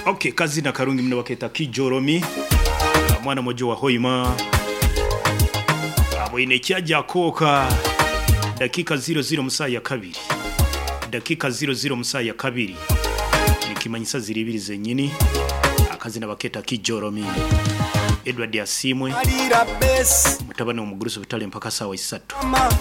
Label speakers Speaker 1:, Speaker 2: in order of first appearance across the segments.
Speaker 1: Okay, kazina karungi muno baketa Kijoromi, mwana mojo wa Hoima aboine ekyaja koka. Dakika 00 musaa ya kabiri, dakika 00 musaa ya kabiri, nikimanyisa ziri ibiri zenyini. Akazina baketa Kijoromi. Edward Asimwe
Speaker 2: Alira besi
Speaker 1: mutabani omugurusi butale mpaka sawa 3.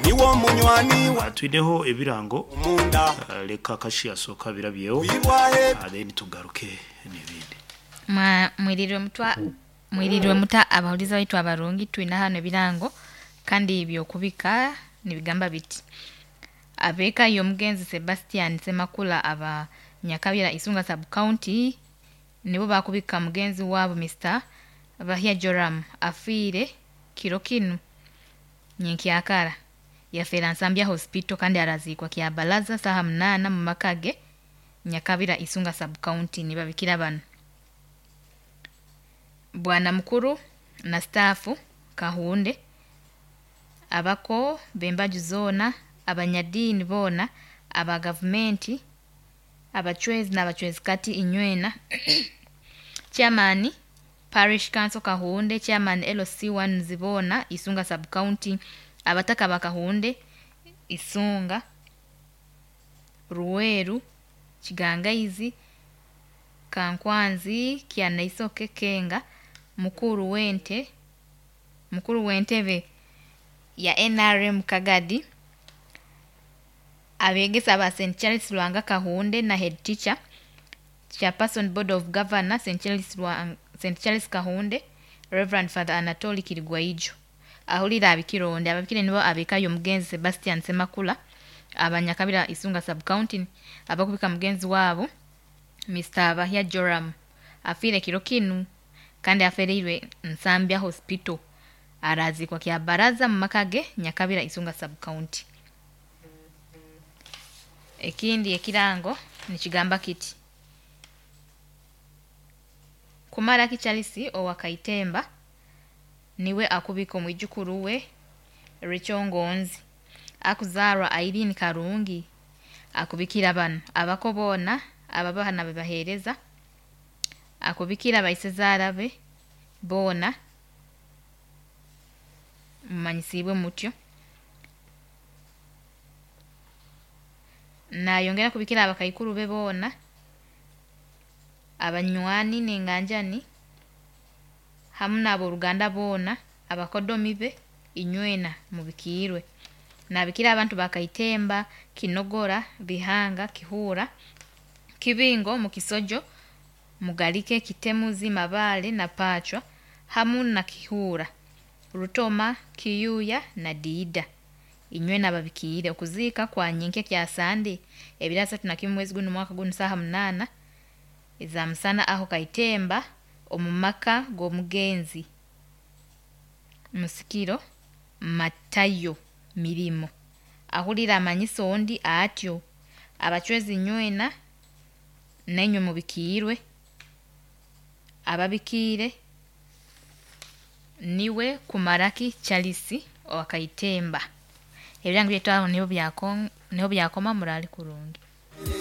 Speaker 2: Niwo munywani wa
Speaker 1: Twineho ebirango
Speaker 2: munda.
Speaker 1: Leka kashi asoka birabyeho
Speaker 2: Uyibwahe.
Speaker 1: Then tugaruke n'ebindi.
Speaker 3: Mwirirwe mutwa, mwirirwe muta abahuliza baitu abarungi. Twina hano ebirango kandi byokubika nibigamba biti: abeeka y'omugenzi Sebastian Semakula aba Nyakabira, Isunga Sub County, nibo bakubika mugenzi waabo Mr Bahia Joram, afiire kiro kinu nyenkyakara. Yafeera Nsambya Hospital kandi araziikwa Kyabalaza saha 8 mu maka ge Nyakabira, Isunga Sub County. Nibabikira bano: bwana mukuru na staafu Kahunde, abako b'embaju zoona, abanyadiini boona, aba gavumenti, abacwezi n'abacwezi kati inywena, chairman parish council Kahunde, chairman LC1 Ziboona, Isunga Sub County, abataka ba Kahunde, Isunga, Ruweru, Kigangaizi, Kankwanzi, Kyanaisoke, Kenga, mukuru w'ente, mukuru w'entebe ya NRM Kagadi, abegesa ba St Charles Lwanga Kahunde na head teacher, chairperson board of governor St Charles Lwanga, St Charles Kahunde, Reverend Father Anatoli Kirigwaijo ahulira abikironde. Ababikire nibo abekayo omugenzi Sebastian Semakula abanyakabira, Isunga Sub County, abakubika mugenzi waabo Mr Bahia Joram, afiire kiro kinu kandi afereirwe Nsambya Hospital, arazikwa Kyabaraza mu maka ge Nyakabira, Isunga Sub County. Ekindi ekirango nikigamba kiti: Kumaraki Charles owa Kaitemba niwe akubika omwijukuru we Rechongonzi akuzaarwa Irene Karungi. Akubikira bano: abako boona, ababaha bebaheereza. Akubikira baisezaara be boona. Mumanyisiibwe mutyo. Nayongera kubikira abakaikuru be boona, abanywani n'enganjani, hamu n'aboruganda boona, abakodomi be inywena mubikiirwe. Nabikira abantu ba Kaitemba, Kinogora, Bihanga, Kihura, Kibingo, Mukisojo, Mugalike, Kitemuzi, Mabale na Pachwa, hamu na Kihura, Rutoma, Kiyuya na Diida, inywena babikiire. Okuziika kwa nyenkya kya Sande 31 mwezi guno mwaka guno saha 8 eza musana aho Kaitemba omu maka g'omugenzi Musikiro Matayo Mirimo. Ahulira amanyisa ondi atyo. Abacwezi nywena nainywe mubikiirwe. Ababikiire niwe Kumaraki Charles owa Kaitemba. Ebirango byaitu aho niho byakoma. Muraale kurungi.